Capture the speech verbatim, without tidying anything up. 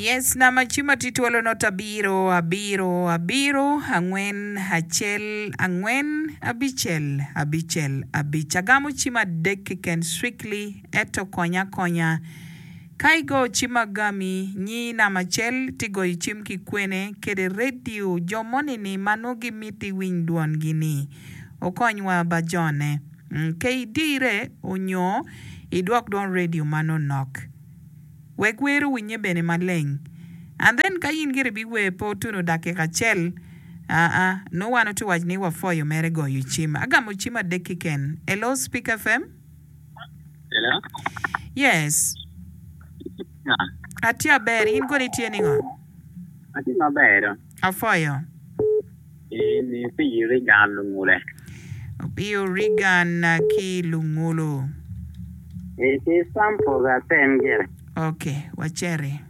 Yes, namba cim atye twolo not abiro abiro abiro angwen acel angwen abicel abicel abic. Agamo cim adek keken strictly eto konya akonya. Ka igo cim agami nyi namba acel ti goyo cim ki kwene kede radio jo moni ni ma nongo gimiti winy dwongi ni okonywa ba jone. Mm, ke idire onyo idwok dwon radio ma nonok. Wek wer owinye bene maleng. And then ka in gire biwer pe otuno dakika acel, aa, nongo wan otye waco ni wapwoyo mere goyo cim. Agamo cim adek keken. Hello, Speak FM? Hello. Yes. Atye aber, in kono itye ningo? Atye maber do. Apwoyo. En Opiyo Regan Lungule. Opiyo Regan ki Lungulu. E ki sample atem gire. Okay, waceri.